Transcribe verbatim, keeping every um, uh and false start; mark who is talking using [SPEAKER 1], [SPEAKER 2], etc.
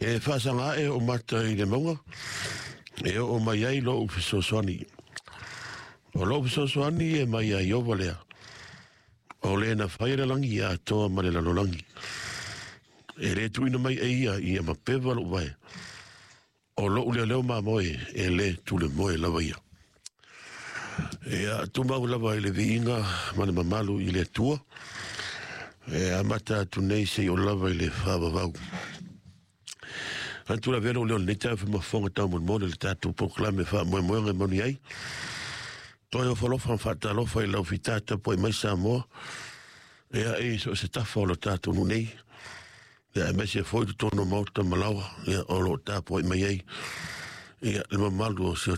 [SPEAKER 1] E faasaga ae ou mata i le mauga, e oo mai ai lou fesoasoani. O lou fesoasoani e mai ia Ieova lea, o le na faia le lagi atoa ma le lalolagi. E le tuuina mai e ia ia mapeva lou vae, o lou leoleo mamoe e le tulemoe lava ia. Ia tumau lava i le viiga ma le mamalu i le Atua, e amata atu nei seia oo lava i le faavavau. Manatu la avea lou leo i lenei taeao e fai ma fofoga taumolimoli o le tatou polokalame faamoemoega e moni ai. Toe ofo alofa ma faatalofa i lau fita tapuai mai Samoa, ia i so o se tafa o le tatou nuu nei, ia aemaise foi totonu o maota ma laoa, ia o lo o tapuai mai ai ia le mamalu o si o